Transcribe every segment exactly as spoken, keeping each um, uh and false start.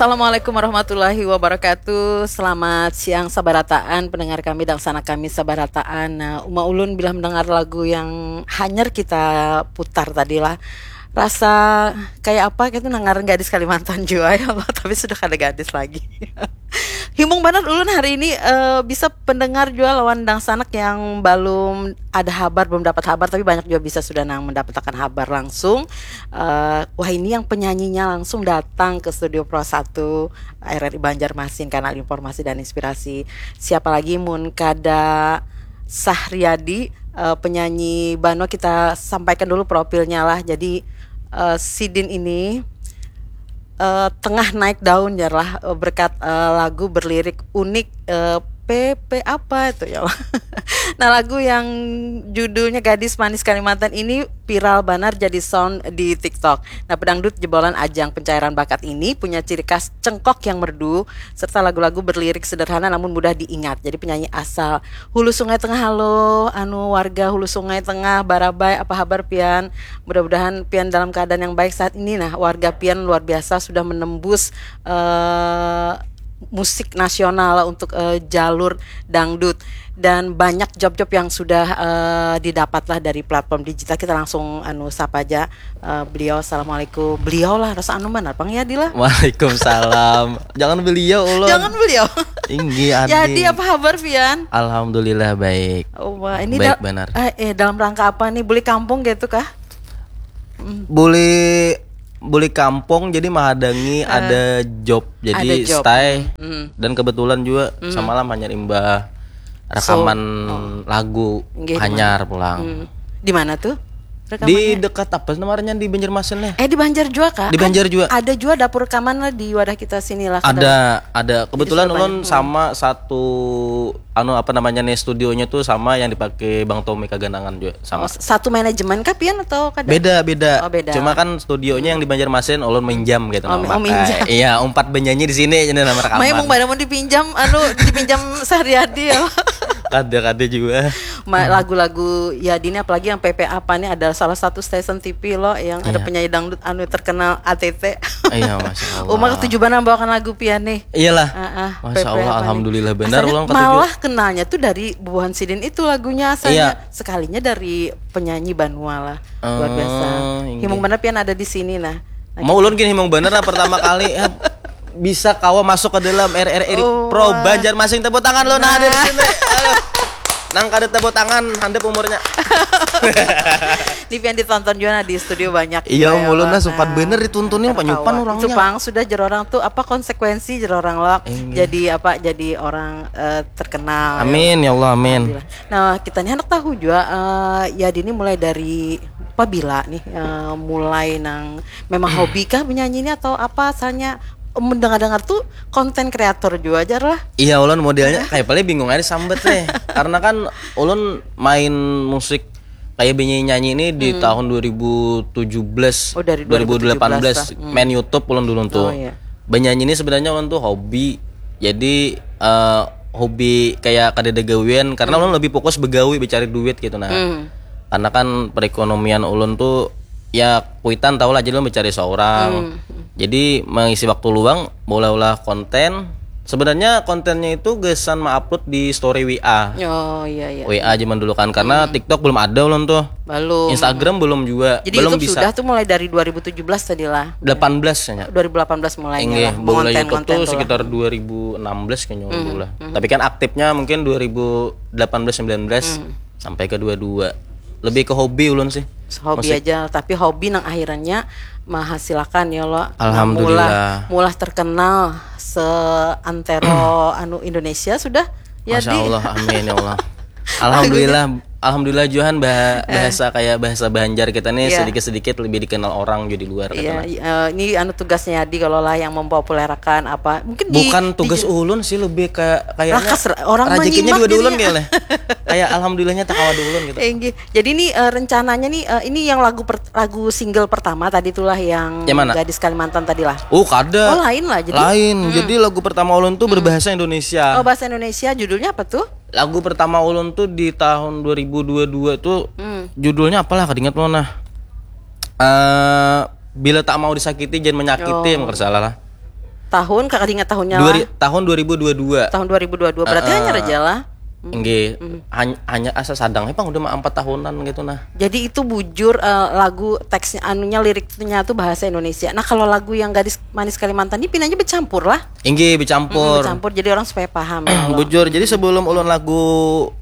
Assalamualaikum warahmatullahi wabarakatuh. Selamat siang sabarataan pendengar kami dan sanak kami sabarataan. Nah, uma ulun bila mendengar lagu yang hanyar kita putar tadi lah, rasa kayak apa gitu, nangar gadis Kalimantan jua ya Allah, tapi sudah kada gadis lagi. Himung banar ulun hari ini, eh, bisa pendengar jua lawan dangsanak yang belum ada habar, belum dapat habar, tapi banyak juga bisa sudah nang mendapatkan habar langsung. Eh, wah, ini yang penyanyinya langsung datang ke Studio Pro satu R R I Banjarmasin, kanal informasi dan inspirasi. Siapa lagi mun kada Sahriadi, eh, penyanyi Banua. Kita sampaikan dulu profilnya lah. Jadi, eh, sidin ini, eh, tengah naik daun ya lah, eh, berkat, eh, lagu berlirik unik, eh, P P apa itu ya lah. Nah, lagu yang judulnya Gadis Manis Kalimantan ini viral banar jadi sound di TikTok. Nah, pedangdut jebolan ajang pencairan bakat ini punya ciri khas cengkok yang merdu serta lagu-lagu berlirik sederhana namun mudah diingat. Jadi penyanyi asal Hulu Sungai Tengah. Halo, anu, warga Hulu Sungai Tengah, Barabai, apa habar pian? Mudah-mudahan pian dalam keadaan yang baik saat ini. Nah, warga pian luar biasa sudah menembus, eh, musik nasional untuk, eh, jalur dangdut dan banyak job-job yang sudah, eh, didapat lah dari platform digital. Kita langsung anu sapa aja, eh, beliau. Assalamualaikum. Beliau lah, rasa anu mana pang ya, Dila? Waalaikumsalam. Jangan beliau, ulun. Jangan beliau. Tinggi, Adi. Jadi apa habar pian? Alhamdulillah baik. Oh, wah, ini Baik dal- banar. Eh, eh, dalam rangka apa nih? Beli kampung gitu kah? Boleh boleh kampung, jadi menghadangi ada job, jadi Ada job. stay. Hmm. Dan kebetulan juga samalam hanyar imbah rekaman lagu Nggih, di hanyar pulang. Hmm. Di mana tuh? Di dekat apa namanya, di Banjarmasin ya? Eh, di Banjar juga kah? Di Banjar juga. Ada juga dapur rekaman lah di wadah kita sini lah. Ada, ada. Kebetulan sudah ulun sama satu, anu, apa namanya nih, studionya tuh sama yang dipakai Bang Tommy Kaganangan juga, sama. Oh, satu manajemen kah pian atau kada? Beda, beda. Oh, beda. Cuma kan studionya yang di Banjarmasin, ulun minjam gitu. Oh, Nah, oh, pakai. Minjam. Iya, umpat benyanyi di sini jadi nama rekaman. Mai emang pada mau dipinjam, anu, dipinjam Sahriadi ya. Kada, kada juga. Ma- lagu-lagu ya dini, apalagi yang P P apa nih, ada salah satu stasiun T V loh yang ada penyanyi dangdut anu terkenal A T T. Iya, Masya Allah. Uma ketujuh banar membawakan lagu pian nih. Iyalah. Ah, ah, Masya P P Allah, apa nih? Alhamdulillah benar. Asalnya Ulun ketujuh. Malah kenalnya tuh dari bubuhan sidin itu lagunya asalnya. Iya. Sekalinya dari penyanyi Banua lah. Luar biasa. Oh, inggih. Himung banar pian ada di sini nah. Mau ulun gini, himung bener lah, pertama kali, eh, bisa kawa masuk ke dalam R R I Oh, Pro wah. Banjarmasin. Tepuk tangan lo nah, ada di sini. Aduh. Nang kada tepuk tangan, handap umurnya. Ini pian ditonton juga nah, di studio banyak. Iya, juga ya, ulun Wak. lah, sempat Nah, bener dituntunin, tertawa. panyupan orangnya. Itu pang sudah jer orang tuh apa konsekuensi jer orang lo. Inggih. Jadi apa? Jadi orang, eh, terkenal. Amin ya Allah, amin. Alhamdulillah. Nah, kita nih anak tahu juga, eh, ya dini mulai dari pabila nih, eh, mulai nang memang hobi kah menyanyi ini atau apa asalnya? Mendengar-dengar tuh konten kreator juga aja lah. Iya, ulun modelnya kayak paling bingung aja sambat deh. Karena kan ulun main musik kayak benyanyi nyanyi ini di tahun dua ribu tujuh belas, Oh, dari dua ribu delapan belas, dua ribu tujuh belas lah. Hmm. Main YouTube ulun dulu tuh. Oh, iya. Benyanyi ini sebenarnya ulun tuh hobi. Jadi, eh, hobi kayak kada ada gawian karena ulun lebih fokus begawi, mencari duit gitu nah. Hmm. Karena kan perekonomian ulun tuh ya kuitan tau lah, jadi ulun mencari seorang. Jadi mengisi waktu luang, maulah-ulah konten. Sebenarnya kontennya itu gasan ma-upload di story W A. Oh, iya, iya. W A zaman dulu kan, karena TikTok belum ada ulun tuh. Belum. Instagram belum juga, Jadi belum YouTube bisa. Sudah tuh mulai dari dua ribu tujuh belas tadi lah. Delapan belas kayaknya. Dua ribu delapan belas mulainya Inggih, lah. baru lah Mengonten- YouTube tuh konten sekitar dua ribu enam belas kayaknya ulun dulu lah. Tapi kan aktifnya mungkin dua ribu delapan belas, sembilan belas sampai ke dua dua. Lebih ke hobi ulun sih. Hobi Musik. Aja, tapi hobi nang akhirnya menghasilkan ya lo. Alhamdulillah. Mulah, mulah terkenal seantero anu Indonesia sudah. Ya, Masya Di. Allah, amin ya Allah. Alhamdulillah, alhamdulillah Johan bah- bahasa kayak bahasa Banjar kita nih Iya. sedikit-sedikit lebih dikenal orang juga di luar. Iya, Katanya. Eh, ini anu tugasnya Adi kalau lah yang mempopulerkan apa. Mungkin di- Bukan di- tugas ulun sih, lebih ke kayaknya Rakas, orang rezekinya menyimak juga di ulun jadinya. Kayaknya. Kayak alhamdulillahnya tak kawa di ulun gitu. Eh, inggih. Jadi ini, eh, rencananya nih, eh, ini yang lagu per- lagu single pertama tadi itulah yang Yang mana? Gadis Kalimantan tadi lah. Oh, kada. Oh, lain lah, jadi? Lain. Jadi lagu pertama ulun tuh berbahasa Indonesia. Oh, bahasa Indonesia, judulnya apa tuh? Lagu pertama ulun tuh di tahun dua ribu dua dua tuh Hmm. judulnya apalah, kada ingat ulun nah. Eh, bila tak mau disakiti, jangan menyakiti, Oh. yang salah lah. Tahun, kakak ingat tahunnya Dua lah. Ri- tahun dua ribu dua dua. Tahun dua ribu dua dua. Berarti Heeh. Hanyar aja lah. Nggih, hany- hanya asa sadang pang udah mah empat tahunan gitu nah. Jadi itu bujur, eh, lagu, teksnya, anunya, liriknya tuh bahasa Indonesia. Nah, kalau lagu yang Gadis Manis Kalimantan ini pinanya bercampur lah. Inggih, bercampur. Bercampur, jadi orang supaya paham ya Allah. Bujur, jadi sebelum ulun lagu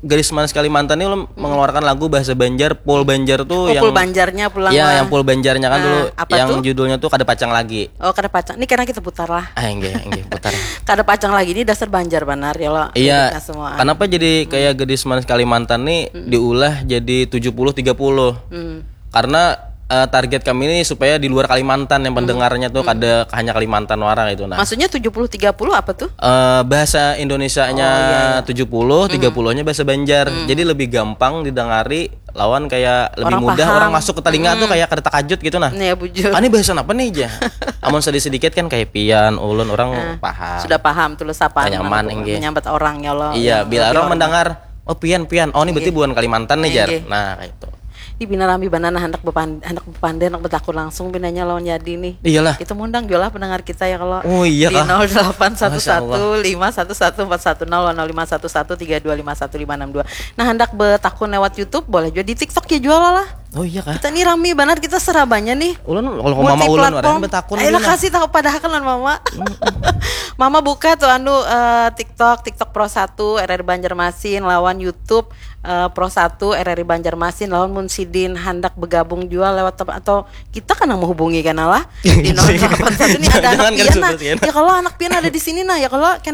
Gadis Manis Kalimantan ini ulun mengeluarkan lagu bahasa Banjar, full Banjar tuh Oh, yang full Banjarnya pulang ya, lah. Yang full Banjarnya kan Nah, dulu, apa yang tuh? Judulnya tuh Kada Pacang Lagi. Oh, Kada Pacang. Ini karena kita putar lah. Ah, inggih, inggih, putar. Kada Pacang Lagi ini dasar Banjar banar ya lo. Iya. Kita semua. Kenapa jadi kayak Gadis Manis Kalimantan nih diulah jadi tujuh puluh tiga puluh? Hmm. Karena eh, target kami ini supaya di luar Kalimantan yang pendengarnya tuh kada hanya Kalimantan wara gitu nah. Maksudnya tujuh puluh tiga puluh apa tuh? Eh, bahasa Indonesianya Oh, iya, iya. tujuh puluh, tiga puluhnya bahasa Banjar. Jadi lebih gampang didengari lawan kayak lebih Orang mudah paham. Orang masuk ke telinga tuh kayak kada takajut gitu nah. Ini ya bujur. Ini bahasa apa nih aja? Amun sedikit-sedikit kan kayak pian, ulun orang paham. Sudah paham tuh lo sapaan Nyaman, mana inggih. Menyambat orang ya lo. Iya, Yang bila lebih orang hormat. Mendengar, oh pian pian, oh ini berarti bukan Kalimantan nih jar. Inggih. Nah, kayak itu. Di bina rami banar nah, hendak bepan hendak bepander, hendak bertakun langsung pinanya lawan Yadi nih. Iyalah. Kita mengundang juga lah pendengar kita ya kalau Oh, iya di kah? nol delapan satu Masya satu lima satu satu empat satu nol, nol lima satu satu tiga dua lima satu lima enam dua. Nah, hendak bertakun lewat YouTube boleh juga, di TikTok ya jual lah. Oh iya kah? Kita nih rami banar, kita serabanya nih. Ulun kalau Multi mama ulun platform. Orang bertakun Ayolah, gimana? Kasih tahu padahal kan lawan mama. Mama buka tuh anu eh, TikTok, TikTok Pro satu R R I Banjarmasin lawan YouTube eh, Pro satu R R I Banjarmasin lawan mun sidin handak bergabung jual lewat tem- atau kita kan yang menghubungi kan lah di nol delapan satu nih ada Jangan anak kan pian nah. sudah, kan? Ya kalau anak pian ada di sini nah, ya kalau